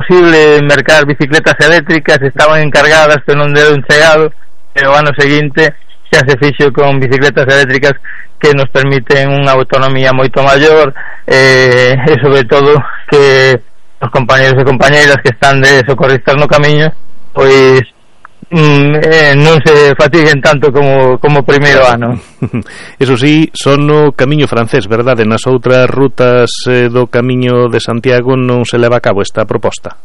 posible mercar bicicletas eléctricas, estaban encargadas pero non deron chegado, e o ano seguinte xa se fixo con bicicletas eléctricas que nos permiten unha autonomía moito maior, e sobre todo que os compañeros e compañeiras que están de socorristas no camiño pois non se fatiguen tanto como o primeiro ano. Eso sí, son no camiño francés, verdade? Nas outras rutas do camiño de Santiago non se leva a cabo esta proposta.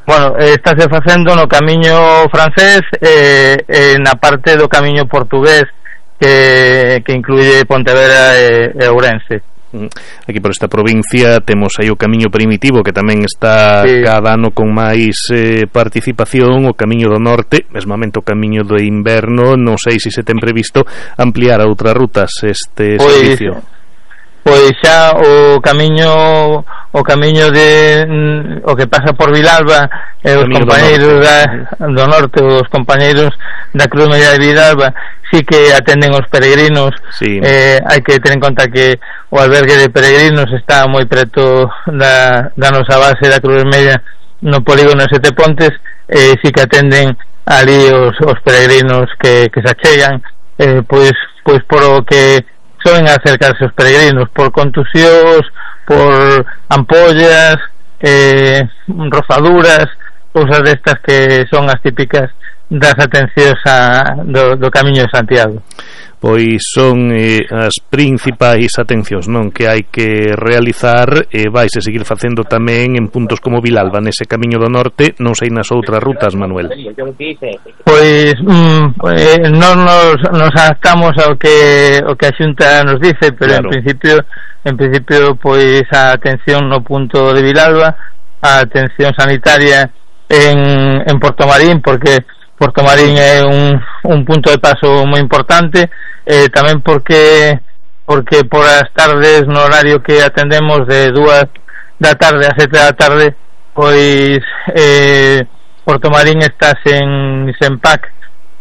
Bueno, estáse facendo no camiño francés e na parte do camiño portugués que incluye Pontevedra e Ourense. Aquí por esta provincia temos aí o camiño primitivo que tamén está cada ano con máis participación, o camiño do norte, mesmamente o camiño do inverno. Non sei se ten previsto ampliar a outras rutas este servicio. Pois xa o camiño de o que pasa por Vilalba, os compañeiros do norte, os compañeiros da Cruz Media de Vilalba sí que atenden os peregrinos. Hai que ter en conta que o albergue de peregrinos está moi preto da nosa base da Cruz Media no polígono de Sete Pontes, sí que atenden ali os peregrinos que se achegan, pois por o que soen acercarse os peregrinos por contusións, por ampollas, rozaduras, cousas destas que son as típicas das atencións do Camiño de Santiago. Pois son as principais atencións, non, que hai que realizar, e vaise seguir facendo tamén en puntos como Vilalba, nese Camiño do Norte, non sei nas outras rutas, Manuel. Pois non nos adaptamos ao que a Xunta nos dice, pero claro. en principio pois a atención no punto de Vilalba, a atención sanitaria en Portomarín, porque Portomarín é un punto de paso moi importante, tamén porque por as tardes no horario que atendemos de 2 da tarde a 7 da tarde, pois Portomarín está sen PAC,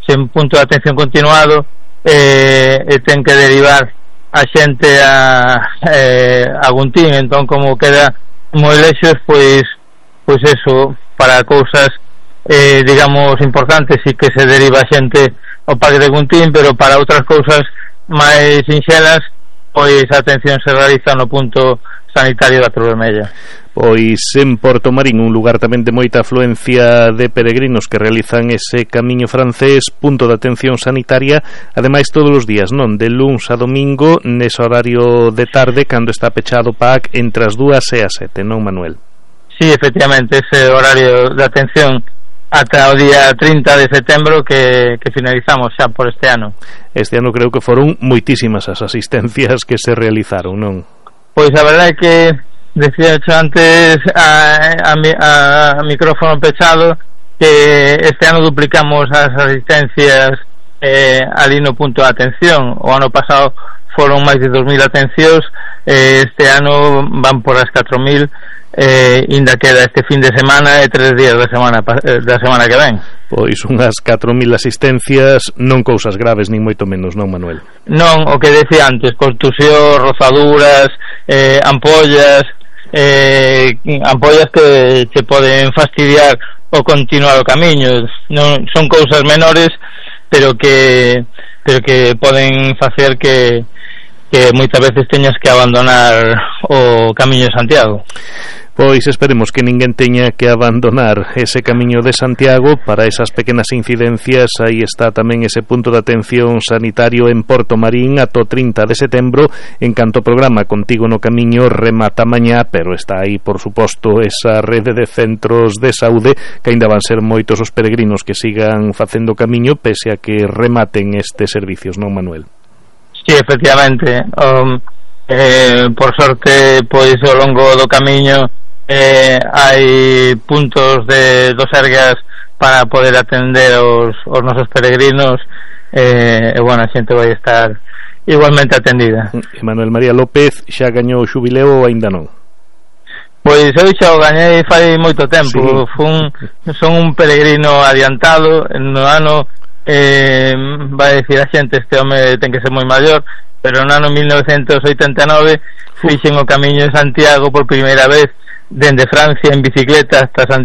sen punto de atención continuado, e ten que derivar a xente a Guntín. Entón, como queda moi lexos, pois eso, para cousas digamos importantes sí que se deriva xente ao Parque de Guntín, pero para outras cousas máis sinxelas pois a atención se realiza no punto sanitario da Cruz Vermella. Pois en Portomarín, un lugar tamén de moita afluencia de peregrinos que realizan ese camiño francés, punto de atención sanitaria, ademais todos os días, non? De luns a domingo, nese horario de tarde, cando está pechado o PAC entre as 2 e as 7, non, Manuel? Sí, efectivamente, ese horario de atención ata o día 30 de setembro que finalizamos xa por este ano. Este ano creo que foron moitísimas as asistencias que se realizaron, non? Pois a verdade é que decía antes a micrófono pechado que este ano duplicamos as asistencias ali no punto de atención. O ano pasado foron máis de 2.000 atencións, este ano van por as 4.000, ainda queda este fin de semana e 3 días da semana que ven. Pois unhas 4.000 asistencias, non cousas graves nin moito menos, non, Manuel? Non, o que decía antes, contusión, rozaduras, ampollas que che poden fastidiar o continuar o camiño. Non son cousas menores, pero que poden facer que moitas veces teñas que abandonar o Camiño de Santiago. Pois esperemos que ninguén teña que abandonar ese Camiño de Santiago. Para esas pequenas incidencias, aí está tamén ese punto de atención sanitario en Portomarín ata o 30 de setembro. En canto ao programa Contigo no Camiño remata mañá, pero está aí, por suposto, esa rede de centros de saúde, que aínda van ser moitos os peregrinos que sigan facendo camiño pese a que rematen estes servicios, non, Manuel? Sí, efectivamente. Por sorte, pois ao longo do camiño hai puntos do Sergas para poder atender os nosos peregrinos, e bueno, a xente vai estar igualmente atendida. Manuel María López xa gañou o xubileo ou aínda non? Pois eu xa o gañei fai moito tempo. Son un peregrino adiantado. No ano vai decir a xente, este home ten que ser moi maior, pero no ano 1989 fixen o Camiño de Santiago por primeira vez dende Francia en bicicleta hasta Santiago.